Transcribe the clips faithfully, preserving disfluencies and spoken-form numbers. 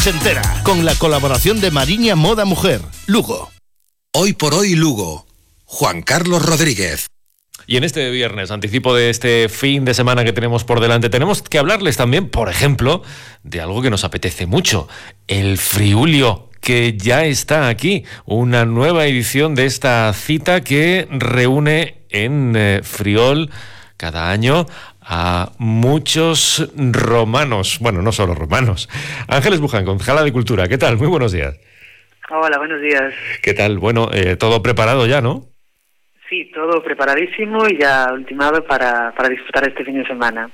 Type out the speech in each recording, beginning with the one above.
ochentera, con la colaboración de Mariña Moda Mujer, Lugo. Hoy por hoy Lugo, Juan Carlos Rodríguez. Y en este viernes, anticipo de este fin de semana que tenemos por delante, tenemos que hablarles también, por ejemplo, de algo que nos apetece mucho, el Friulio, que ya está aquí, una nueva edición de esta cita que reúne en eh, Friol cada año a muchos romanos, bueno, no solo romanos. Ángeles Buján, concejala de Cultura, ¿qué tal? Muy buenos días. Hola, buenos días. ¿Qué tal? Bueno, eh, todo preparado ya, ¿no? Sí, todo preparadísimo y ya ultimado para, para disfrutar este fin de semana.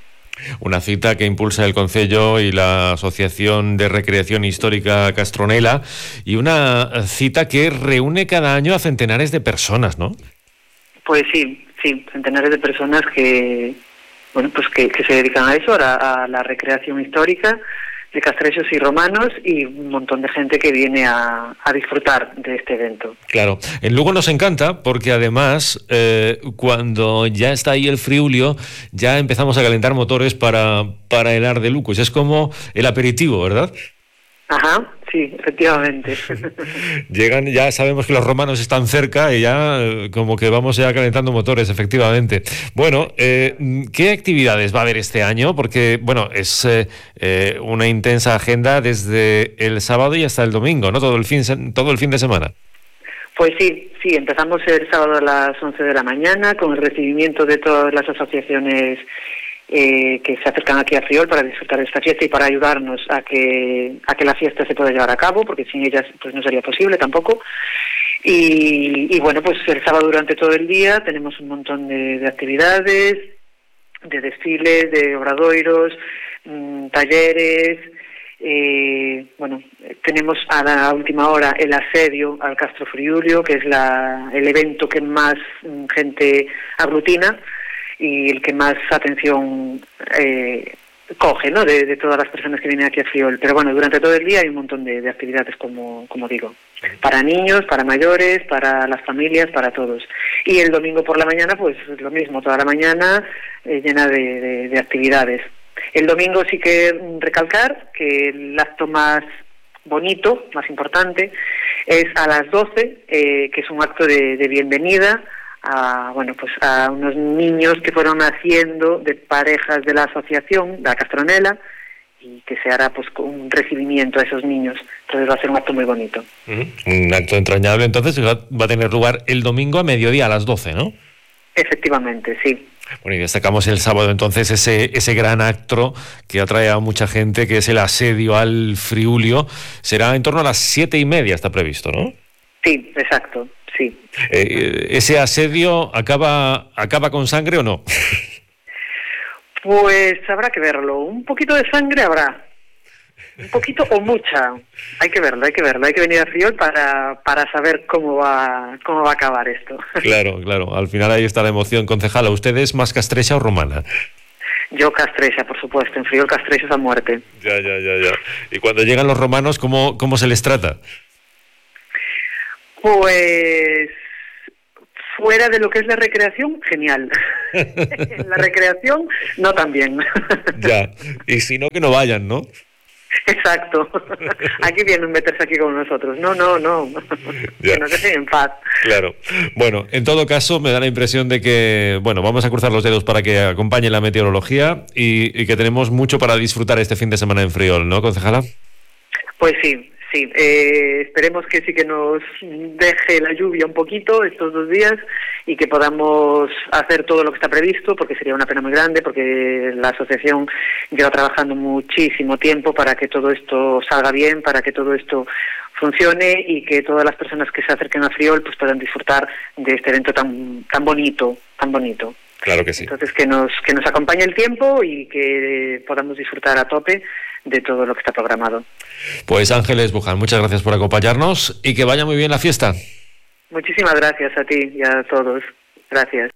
Una cita que impulsa el Concello y la Asociación de Recreación Histórica Castronela, y una cita que reúne cada año a centenares de personas, ¿no? Pues sí, sí, centenares de personas que, bueno, pues que, que se dedican a eso, a, a la recreación histórica de castrechos y romanos, y un montón de gente que viene a, a disfrutar de este evento. Claro, en Lugo nos encanta porque además eh, cuando ya está ahí el Friulio ya empezamos a calentar motores para, para el Ar de Lucos. Es como el aperitivo, ¿verdad? Ajá, sí, efectivamente. Llegan, ya sabemos que los romanos están cerca y ya eh, como que vamos ya calentando motores, efectivamente. Bueno, eh, ¿qué actividades va a haber este año? Porque, bueno, es eh, eh, una intensa agenda desde el sábado y hasta el domingo, ¿no? Todo el fin, todo el fin de semana. Pues sí, sí, empezamos el sábado a las once de la mañana con el recibimiento de todas las asociaciones Eh, que se acercan aquí a Friol para disfrutar de esta fiesta y para ayudarnos a que a que la fiesta se pueda llevar a cabo, porque sin ellas pues no sería posible tampoco. Y, y bueno, pues el sábado durante todo el día tenemos un montón de, de actividades, de desfiles, de obradoiros, mmm, talleres. Eh, bueno, tenemos a la última hora el asedio al Castro Friulio, que es la, el evento que más mmm, gente aglutina y el que más atención eh, coge, ¿no?, de, de todas las personas que vienen aquí a Friol. Pero bueno, durante todo el día hay un montón de, de actividades, como, como digo, para niños, para mayores, para las familias, para todos. Y el domingo por la mañana, pues lo mismo, toda la mañana eh, llena de, de, de actividades. El domingo sí que recalcar que el acto más bonito, más importante, es a las doce, eh, que es un acto de, de bienvenida a, bueno, pues a unos niños que fueron naciendo de parejas de la asociación, de la Castronela, y que se hará pues un recibimiento a esos niños. Entonces va a ser un acto muy bonito. Uh-huh. Un acto entrañable, entonces va a tener lugar el domingo a mediodía, a las doce, ¿no? Efectivamente, sí. Bueno, y destacamos el sábado entonces ese, ese gran acto que atrae a mucha gente, que es el asedio al Friulio. Será en torno a las siete y media, está previsto, ¿no? Sí, exacto. Sí. Eh, ¿Ese asedio acaba acaba con sangre o no? Pues habrá que verlo. Un poquito de sangre habrá. Un poquito o mucha. Hay que verlo, hay que verlo. Hay que venir a Friol para, para saber cómo va cómo va a acabar esto. Claro, claro. Al final ahí está la emoción. Concejala, ¿usted es más castrecha o romana? Yo castrecha, por supuesto. En Friol castrechos a muerte. Ya, ya, ya, ya. Y cuando llegan los romanos, ¿cómo, cómo se les trata? Pues fuera de lo que es la recreación, genial. En la recreación, no tan bien. Ya, y si no, que no vayan, ¿no? Exacto. Aquí vienen a meterse aquí con nosotros. No, no, no. Ya. Que nos dejen en paz. Claro. Bueno, en todo caso, me da la impresión de que, bueno, vamos a cruzar los dedos para que acompañe la meteorología y, y que tenemos mucho para disfrutar este fin de semana en Friol, ¿no, concejala? Pues sí. Sí, eh, esperemos que sí que nos deje la lluvia un poquito estos dos días y que podamos hacer todo lo que está previsto, porque sería una pena muy grande, porque la asociación lleva trabajando muchísimo tiempo para que todo esto salga bien, para que todo esto funcione y que todas las personas que se acerquen a Friol pues puedan disfrutar de este evento tan tan bonito, tan bonito. Claro que sí. Entonces que nos que nos acompañe el tiempo y que podamos disfrutar a tope de todo lo que está programado. Pues Ángeles Buján, muchas gracias por acompañarnos y que vaya muy bien la fiesta. Muchísimas gracias a ti y a todos. Gracias.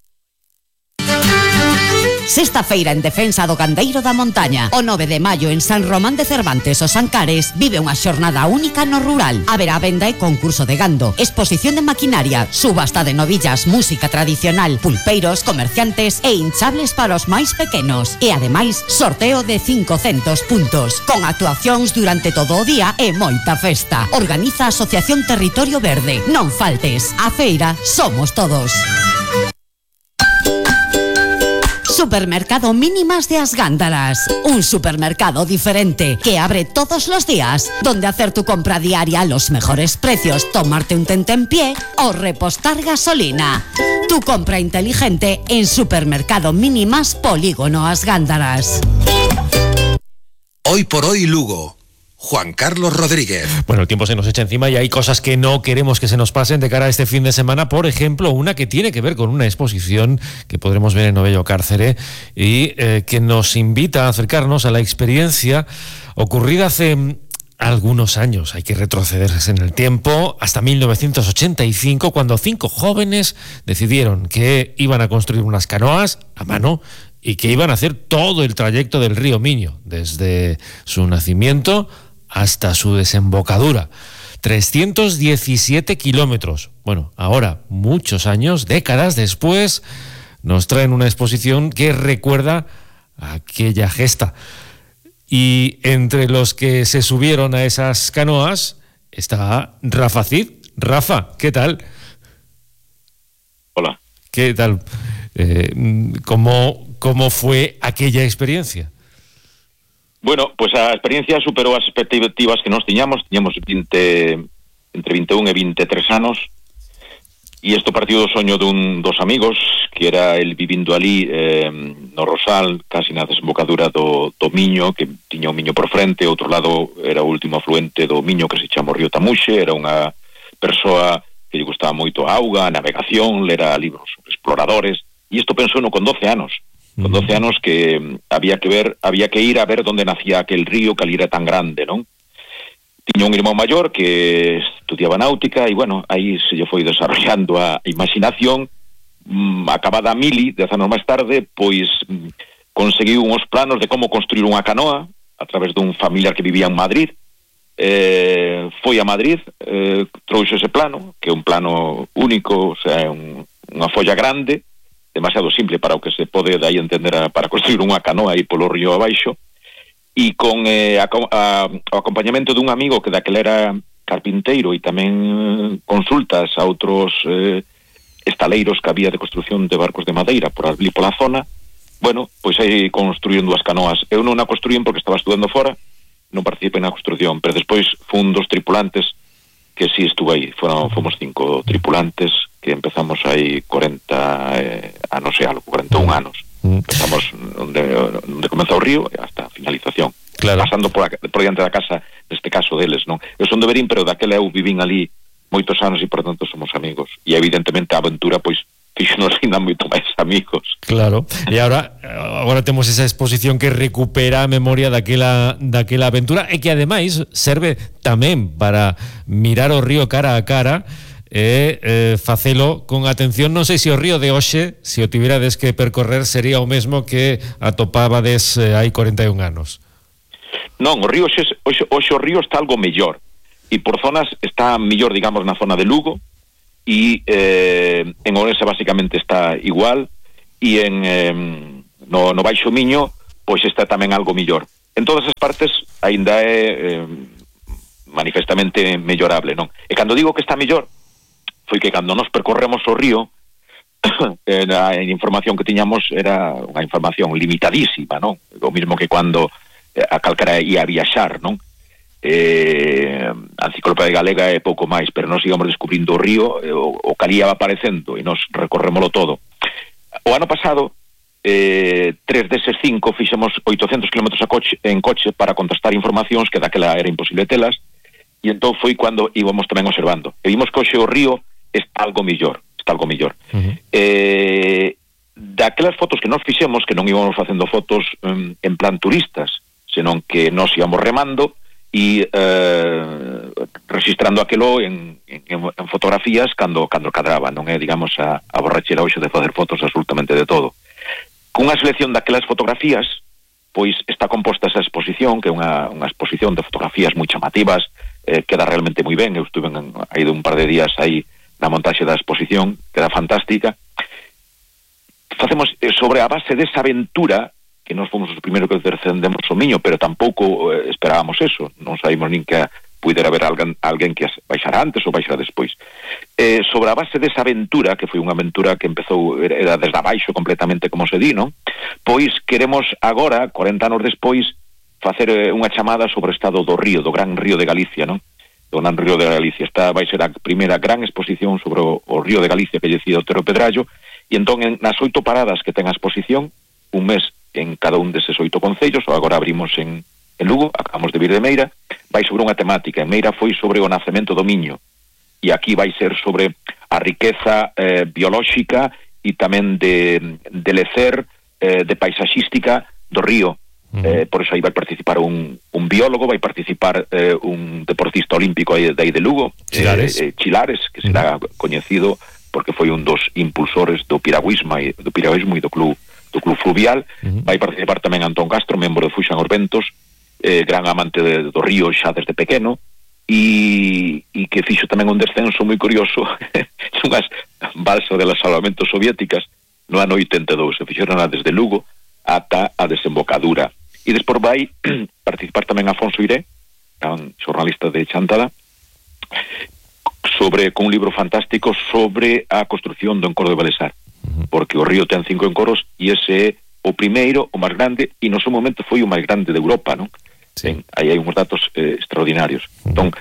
Sexta feira en defensa do gandeiro da montaña. O nove de maio en San Román de Cervantes, os Ancares, vive unha xornada única no rural. Haberá venda e concurso de gando, exposición de maquinaria, subasta de novillas, música tradicional, pulpeiros, comerciantes e hinchables para os máis pequenos. E ademais, sorteo de cincocentos puntos, con actuacións durante todo o día e moita festa. Organiza a Asociación Territorio Verde. Non faltes, a feira somos todos. Supermercado Mínimas de As Gándaras. Un supermercado diferente que abre todos los días, donde hacer tu compra diaria a los mejores precios, tomarte un tentempié o repostar gasolina. Tu compra inteligente en Supermercado Mínimas Polígono As Gándaras. Hoy por hoy Lugo. Juan Carlos Rodríguez. Bueno, el tiempo se nos echa encima y hay cosas que no queremos que se nos pasen de cara a este fin de semana. Por ejemplo, una que tiene que ver con una exposición que podremos ver en Novello Cárcere y eh, que nos invita a acercarnos a la experiencia ocurrida hace algunos años. Hay que retrocederse en el tiempo hasta mil novecientos ochenta y cinco, cuando cinco jóvenes decidieron que iban a construir unas canoas a mano y que iban a hacer todo el trayecto del río Miño, desde su nacimiento hasta su desembocadura. trescientos diecisiete kilómetros. Bueno, ahora, muchos años, décadas después, nos traen una exposición que recuerda aquella gesta. Y entre los que se subieron a esas canoas está Rafa Cid. Rafa, ¿qué tal? Hola. ¿Qué tal? Eh, ¿cómo, ¿Cómo fue aquella experiencia? Bueno, pues a experiencia superou as expectativas que nos tiñamos. Tiñamos veinte, entre vinte e un e vinte e tres anos, e isto partiu do soño dun dos amigos, que era el vivindo ali eh, no Rosal, casi na desembocadura do, do Miño, que tiña o Miño por frente. Outro lado era o último afluente do Miño, que se chama o Río Tamuxe. Era unha persoa que lle gustaba moito a auga, a navegación, lera libros exploradores, e isto pensou no con doce anos. Con doce anos que había que ver, había que ir a ver onde nacía aquel río que ali era tan grande, non? Tiña un irmão maior que estudiaba náutica e, bueno, aí se lle foi desarrollando a imaginación. Mm, acabada a mili, dez anos máis tarde, pois mm, conseguiu uns planos de como construir unha canoa a través dun familiar que vivía en Madrid. Eh, foi a Madrid, eh, trouxe ese plano, que é un plano único, o sea, un, unha folla grande, demasiado simple para o que se pode dai entender a, para construir unha canoa aí polo río abaixo, e con eh, a, a, o acompañamento dun amigo que daquela era carpinteiro e tamén eh, consultas a outros eh, estaleiros que había de construción de barcos de madeira por ali pola zona. Bueno, pois aí construíron dúas canoas. Eu non a construín porque estaba estudando fora, non participei na construción, pero despois fun dos tripulantes que sí estuve aí. Foron, fomos cinco tripulantes que empezamos aí cuarenta eh, anos e algo, cuarenta e un anos. Mm. Empezamos onde, onde comeza o río hasta a finalización. Claro. Pasando por, a, por diante da casa, neste caso deles, non? Eu son de Verín, pero daquela eu vivín ali moitos anos e, por tanto, somos amigos. E, evidentemente, a aventura, pois, fixonos ainda moito máis amigos. Claro. E agora, agora temos esa exposición que recupera a memoria daquela, daquela aventura e que, ademais, serve tamén para mirar o río cara a cara e eh, facelo con atención. Non sei se o río de hoxe, se o tiverades que percorrer, sería o mesmo que atopabades eh, hai cuarenta e un anos. Non, o río hoxe, hoxe, hoxe o río está algo mellor e por zonas está mellor, digamos, na zona de Lugo, e eh, en Ourense basicamente está igual, e en eh, no, no Baixo Miño pois está tamén algo mellor. En todas as partes aínda é eh, manifestamente mellorable, non? E cando digo que está mellor, foi que cando nos percorremos o río, a información que tiñamos era unha información limitadísima, non? O mismo que cando a calcara ia a viaxar, non? Eh, a enciclopedia galega é pouco máis, pero nos íbamos descubrindo o río, o, o que ali ia aparecendo, e nos recorrémolo todo. O ano pasado, eh, tres deses cinco fixemos oitocentos kilómetros a coche, en coche para contestar informacións que daquela era imposible telas, e entón foi cando íbamos tamén observando. E vimos que hoxe o río está algo millor, está algo millor. Uh-huh. Eh, daquelas fotos que nos fixemos, que non íbamos facendo fotos um, en plan turistas, senón que nos íbamos remando e eh, registrando aquelo en, en, en fotografías cando cando cadraba, non é, digamos, a, a borrachera hoxe de facer fotos absolutamente de todo. cunha selección daquelas fotografías, pois está composta esa exposición, que é unha, unha exposición de fotografías moi chamativas, eh, queda realmente moi ben. Eu estuve en, aí de un par de días aí na montaxe da exposición, queda fantástica. Facemos eh, sobre a base desa aventura, que nós fomos os primeiros que descendemos o Miño, pero tampouco eh, esperábamos eso, non sabíamos nin que puidera haber alguén, alguén que baixara antes ou baixara despois. Eh, sobre a base desa aventura, que foi unha aventura que empezou, era desde abaixo completamente, como se di, non? Pois queremos agora, corenta anos despois, facer eh, unha chamada sobre o estado do río, do gran río de Galicia, non? Do gran río de Galicia. Esta vai ser a primeira gran exposición sobre o, o río de Galicia que lle decía Otero Pedrallo, e entón en, nas oito paradas que ten a exposición, un mes en cada un deses oito concellos, ou agora abrimos en en Lugo, acabamos de vir de Meira, vai sobre unha temática. En Meira foi sobre o nacemento do Miño, e aquí vai ser sobre a riqueza eh, biolóxica e tamén de, de lecer, eh, de paisaxística do río. Uh-huh. Eh, por eso aí vai participar un, un biólogo, vai participar eh, un deportista olímpico aí, de aí de Lugo, Chilares, eh, eh, Chilares que será uh-huh. coñecido porque foi un dos impulsores do piragüismo e do piragüismo e do club do club fluvial. Uh-huh. Vai participar tamén Antón Castro, membro de Fuxan os Ventos, Eh, gran amante de, do río xa desde pequeno, e, e que fixo tamén un descenso moi curioso unhas balsas de las salvamentos soviéticas no ano oitenta e dous, se fixeron desde Lugo ata a desembocadura, e despois vai participar tamén Afonso Iré, un xornalista de Chantada, sobre con un libro fantástico sobre a construcción do encoro de Balesar, porque o río ten cinco encoros e ese é o primeiro, o máis grande, e no seu momento foi o máis grande de Europa, non? Sí. Ben, aí hai uns datos eh, extraordinarios. Uh-huh. Entón,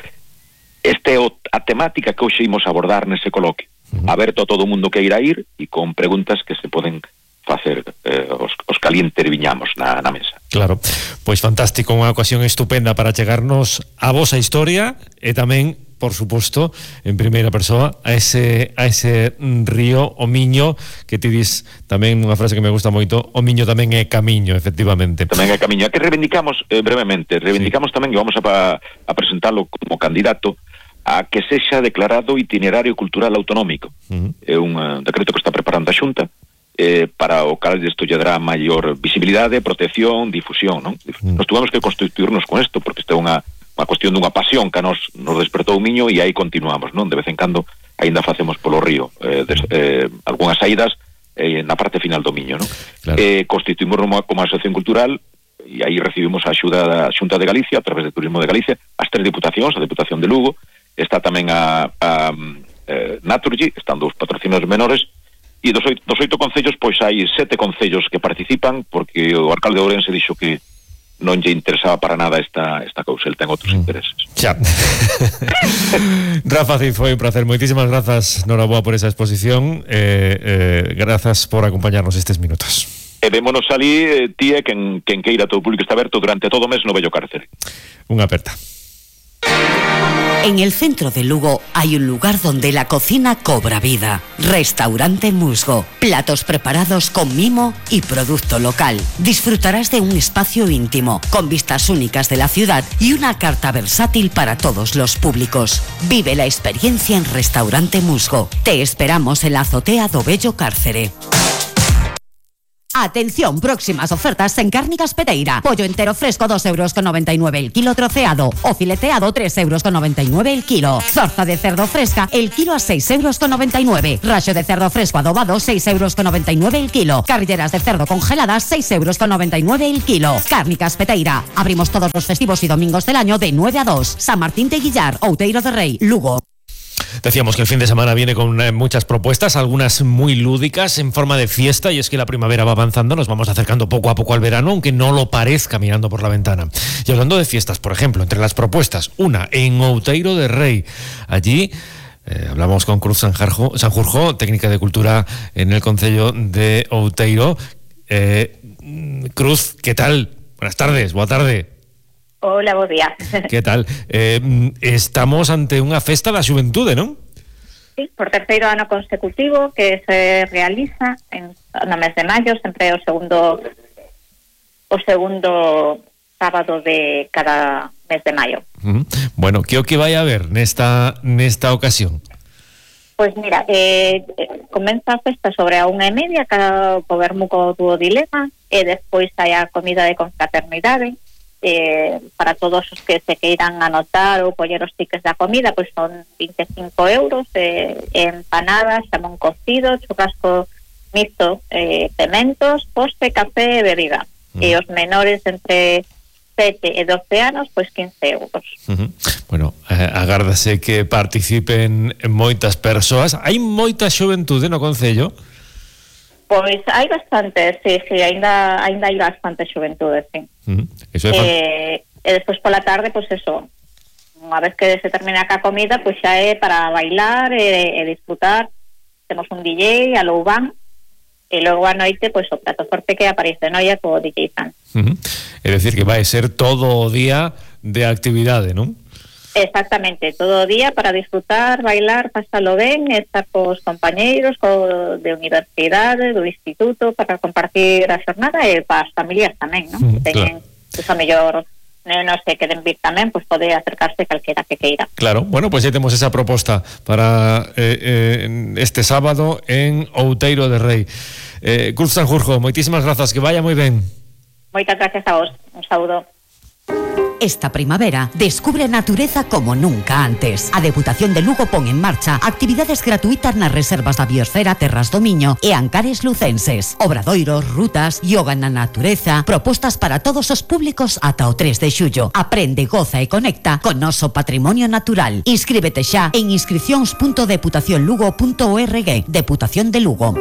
esta é o, a temática que hoxe imos abordar nese coloquio. Uh-huh. Aberto a todo o mundo que irá ir e con preguntas que se poden facer eh, os, os que ali interviñamos na, na mesa. Claro, pois fantástico, unha ocasión estupenda para chegarnos a vosa historia e tamén, por suposto, en primeira persoa a ese, a ese río, o Miño, que ti dis tamén unha frase que me gusta moito, o Miño tamén é camiño, efectivamente. Tamén é camiño. A que reivindicamos, eh, brevemente, reivindicamos sí. tamén que vamos a, a presentarlo como candidato a que sexa declarado itinerario cultural autonómico. Uh-huh. É un uh, decreto que está preparando a Xunta, eh, para o cal isto lle dará maior visibilidade, protección, difusión, non? Uh-huh. Nos tuvemos que constituirnos con isto, porque isto é unha unha cuestión dunha pasión que nos, nos despertou o Miño, e aí continuamos, non? De vez en cando aínda facemos polo río eh, des, eh, algunhas saídas eh, na parte final do Miño, non? Claro. Eh, constituímos como asociación cultural, e aí recibimos a axuda da Xunta de Galicia a través de Turismo de Galicia, as tres diputacións, a Diputación de Lugo, está tamén a, a, a Naturgy, están dous patrocinios menores, e dos oito, dos oito concellos, pois hai sete concellos que participan, porque o alcalde de Ourense dixo que non lle interesaba para nada esta, esta cousa, el ten outros mm. intereses. Xa. Rafa Cid, foi un placer. Moitísimas grazas, noraboa, por esa exposición. Eh, eh, grazas por acompañarnos estes minutos. E vémonos ali, eh, tía, quen, quen queira, todo o público está aberto durante todo o mes no Bello Cárcere. Unha aperta. En el centro de Lugo hay un lugar donde la cocina cobra vida. Restaurante Musgo. Platos preparados con mimo y producto local. Disfrutarás de un espacio íntimo, con vistas únicas de la ciudad y una carta versátil para todos los públicos. Vive la experiencia en Restaurante Musgo. Te esperamos en la azotea do Bello Cárcere. Atención, próximas ofertas en Cárnicas Peteira. Pollo entero fresco dos euros con noventa y nueve el kilo troceado, o fileteado tres euros con noventa y nueve el kilo. Zorza de cerdo fresca el kilo a seis euros con noventa y nueve. Rayo de cerdo fresco adobado seis euros con noventa y nueve el kilo. Carrilleras de cerdo congeladas seis euros con noventa y nueve el kilo. Cárnicas Peteira. Abrimos todos los festivos y domingos del año de nueve a dos. San Martín de Guillar, Outeiro de Rei, Lugo. Decíamos que el fin de semana viene con eh, muchas propuestas, algunas muy lúdicas, en forma de fiesta, y es que la primavera va avanzando, nos vamos acercando poco a poco al verano, aunque no lo parezca mirando por la ventana. Y hablando de fiestas, por ejemplo, entre las propuestas, una en Outeiro de Rei. Allí eh, hablamos con Cruz Sanjarjo, Sanjurjo, técnica de cultura en el concello de Outeiro. Eh, Cruz, ¿qué tal? Buenas tardes, boa tarde. Hola, bo día. Que tal? Eh, estamos ante unha festa da xuventude, non? Sí, por terceiro ano consecutivo que se realiza en, no mes de maio, sempre o segundo o segundo sábado de cada mes de maio. Uh-huh. Bueno, que o que vai a haber nesta nesta ocasión? Pois mira, eh, comeza a festa sobre a unha e media, cada co vermuco do dilema, e despois hai a comida de confraternidade, eh, para todos os que se queiran anotar ou coller os tickets da comida, pois son vinte e cinco euros, eh, empanadas, xamón cocido, churrasco mixto, eh, pementos, postre, café e bebida. Mm. E os menores entre sete e doce anos, pois quince euros. Uh-huh. Bueno, eh, agárdase que participen moitas persoas. Hai moita xuventude no concello? Pois hai bastante, sí, sí, ainda ainda hai bastante xuventude, sí. Uh-huh. Eso é fan... eh, e despois pola tarde, pois eso, unha vez que se termina a comida, pois xa é para bailar e, e disfrutar. Temos un D J, a Loubán, e logo a noite, pois o prato forte que aparece noia co D J Fan. Uh-huh. É dicir que vai ser todo o día de actividade, non? Exactamente, todo o día para disfrutar, bailar, pasalo ben, estar cos compañeiros co, de universidade, do instituto, para compartir a xornada e para as familias tamén, non? Uh-huh, Que teñen, claro. pues, a mellor non se queden vir tamén, pois pues, pode acercarse calquera que queira. Claro, bueno, pois pues, temos esa proposta para eh, eh, este sábado en Outeiro de Rei. eh, Cruz Sanjurjo, moitísimas grazas, que vaya moi ben. Moitas gracias a vos, un saúdo. Esta primavera, descubre a natureza como nunca antes. A Deputación de Lugo pon en marcha actividades gratuitas nas reservas da biosfera Terras do Miño e Ancares lucenses. Obradoiros, rutas, yoga na natureza, propostas para todos os públicos ata o tres de xullo. Aprende, goza e conecta con noso patrimonio natural. Inscríbete xa en inscricións punto deputación lugo punto org. Deputación de Lugo.